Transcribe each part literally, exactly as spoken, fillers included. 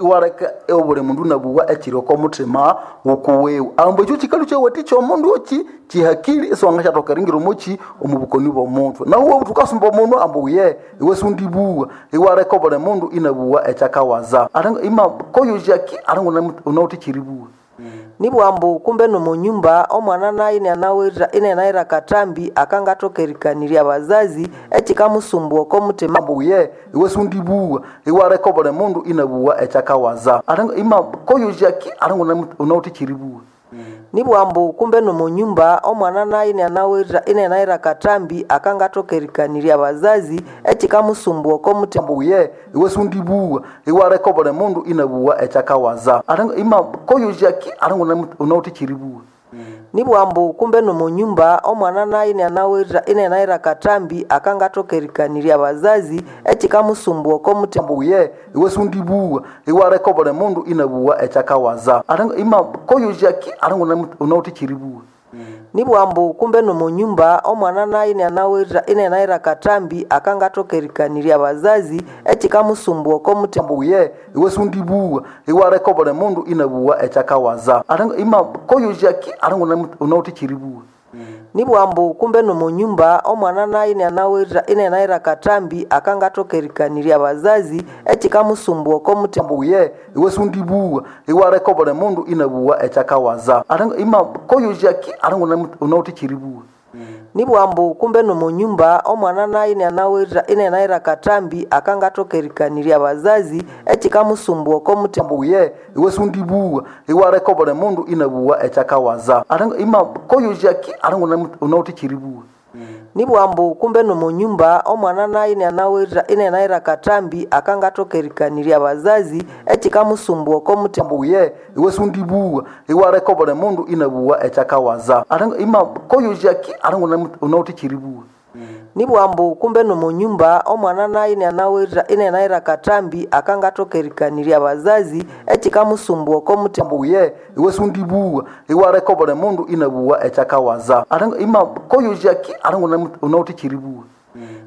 Iwaleka obuli mundu nabuwa ekiri oko muthima wukuwiwe. Ambu ekyo kikalu kyawathikya omundu oki kihakili isiwangasyathoka eringira omoki omu bukoni bw'omuthwe. Nahu iwabugha wuthi wukasumba omundu ambu uye iwe siwundibuwa, iwaleka obuli mundu inabuwa ekyakawaza. Alinga ima koyo jaki alinga wunawithe ekyeribuwa. Nibugha ambu kumbe n'omunyumba omwana nayo inianawithe inianaghira akathambi akangathoka erikanirya abazazi ekikamusumbugha oko muthima. Ambu uye iwe siwundibuwa, iwaleka obuli mundu inabuwa ekyakawaza. Alinga ima koyo jaki alinga wunawithe ekyeribuwa. Nibugha ambu kumbe n'omunyumba omwana nayo inianawithe inianaghira akathambi akangathoka erikanirya abazazi ekikamusumbugha oko muthima. Ambu uye iwe siwundibuwa, iwaleka obuli mundu inabuwa ekyakawaza. Alinga ima koyo jaki alinga wunawithe ekyeribuwa. Nibugha ambu kumbe n'omunyumba omwana nayo inianawithe inianaghira akathambi akangathoka erikanirya abazazi ekikamusumbugha oko muthima. Ambu uye iwe siwundibuwa, iwaleka obuli mundu inabuwa ekyakawaza. Alinga ima koyo jaki alinga wunawithe ekyeribuwa. Nibugha ambu kumbe n'omunyumba omwana nayo inianawithe inianaghira akathambi akangathoka erikanirya abazazi ekikamusumbugha oko muthima. Ambu uye iwe siwundibuwa, iwaleka obuli mundu inabuwa ekyakawaza. Alinga ima koyo jaki alinga wunawithe ekyeribuwa. Nibugha ambu kumbe n'omunyumba omwana nayo inianawithe inianaghira akathambi akangathoka erikanirya abazazi ekikamusumbugha oko muthima. Ambu uye iwe siwundibuwa, iwaleka obuli mundu inabuwa ekyakawaza. Alinga ima koyo jaki alinga wunawithe ekyeribuwa. Nibugha ambu kumbe n'omunyumba omwana nayo inianawithe inianaghira akathambi akangathoka erikanirya abazazi ekikamusumbugha oko muthima. Ambu uye iwe siwundibuwa, iwaleka obuli mundu inabuwa ekyakawaza. Alinga ima koyo jaki alinga wunawithe ekyeribuwa. Nibugha ambu kumbe n'omunyumba omwana nayo inianawithe inianaghira akathambi akangathoka erikanirya abazazi ekikamusumbugha oko muthima. Ambu uye iwe siwundibuwa, iwaleka obuli mundu inabuwa ekyakawaza. Alinga ima koyo jaki alinga wunawithe ekyeribuwa. Nibugha ambu kumbe n'omunyumba omwana nayo inianawithe inianaghira akathambi akangathoka erikanirya abazazi ekikamusumbugha oko muthima. Ambu uye iwe siwundibuwa, iwaleka obuli mundu inabuwa ekyakawaza. Alinga ima koyo jaki alinga wunawithe ekyeribuwa.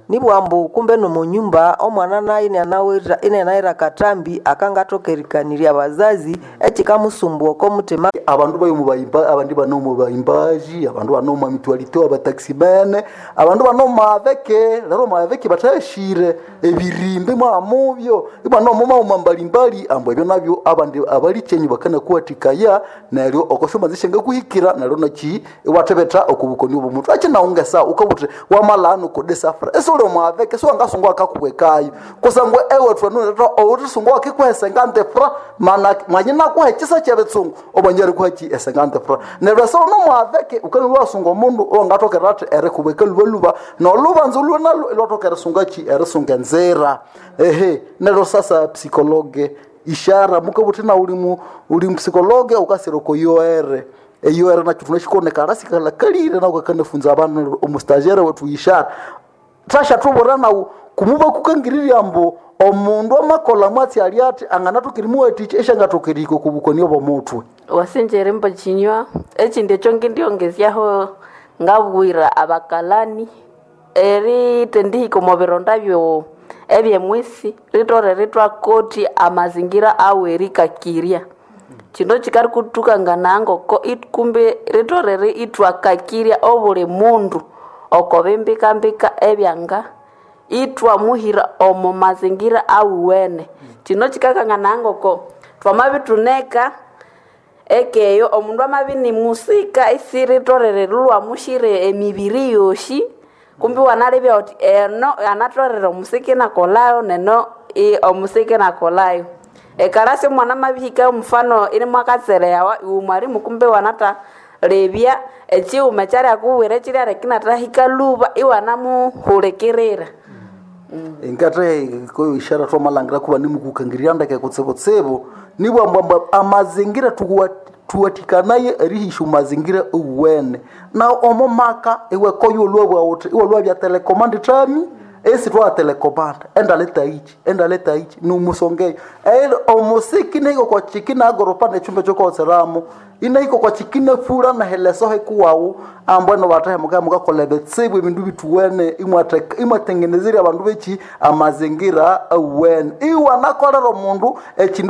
Nibugha ambu kumbe n'omunyumba omwana nayo inianawithe inianaghira akathambi akangathoka erikanirya abazazi ekikamusumbugha oko muthima. Abandu bayo mubayimba abandi bano bayimbaji, abandu bano mu mutualite, abataximene, abandu bano maveke, lero maveke batashire ebirimbe mwamubyo ibano muma mbalimbali ambu ebyo nabyo abandi abalichenyi bakana kuwatikaya neryo okoshoma zishenga kuhikira neryo naki iwathebetha okubukoni obwo achi naungesa ukabuthi wamalano kodesafra esole mwaveke siwangasungwa akakuwekayo kusangwa ewe thwanunetha owuthisungwa akikuhesenga ndefra mana mwanyina kuhekisa kyebitsungu obanyari kuhaki esenga ndefra neryo esolo nomwaveke ukani lwasunga omundu owangathokera athi erikubweka lubaluba nolubanza olwo lwathoka erisunga ki erisunga enzira ehe. Neryo sasa psikologe ishara mukabuthi na uli uli psikologe ukasira okoyoere eyoere nakyo tunashikonekala sikalakalire nawo kakanafunza abandu omustagiaire wethu ishara thashathubura nawu kumuba kukangirirya mbu omundu amakola mwatsi ali athi anganathokera imuwathikya esyangathokera iko kubukoni obw'omuthwe. Wasinjere mbo chinywa ekindi ekyo ngindyongezyaho ngabwira abakalani erithendihika omo bironda byo ebyemwisi ritolere ithwakotya amazingira awerikakirya. Kino kikarikuthukangana ngoko kumbe ritolere ithwakakirya obuli mundu oko bimbikambika ebyanga ithwamuhira omo mazingira awuwene. Kino kikakanganaya ngoko thwamabithuneka ekeyo omundu amabya inimusika isiritolere lwamushira emibiri yosi kumbi iwanalebya wuthi eno anatolere omusika inakolhayo neno omusika inakolhayo. Ekalasi omwana amabihika omufano inimwakatsereyawa iwe mwalimu kumbe iwanathalebya ekighuma ekyalya ekiryaleka inathahika lhuba iwanamuhulikirira. Ngathe koyo ishara twamalhangira kuba nimukukangirya ndeke kutsibutsibu nibwa mbwambwa amazingira tuwa tuwathikanaye erihisya mazingira owuwene na omo maka iwe koyo olwabwa wuthi iwe lwabya telecommand tami esi twa telecommand endaleta ichi endaleta ichi numusongeyo ero omusiki nahiko kwa chikina agoropa nechumba chokoseramo inahiko kwa chikina fura na heleso hekuwawu ambweno batahe muka mukakola ebitsibu ebindu bituwene imwatengenezerya abandu bechi amazingira awuwene iwanakolera omundu ekindu.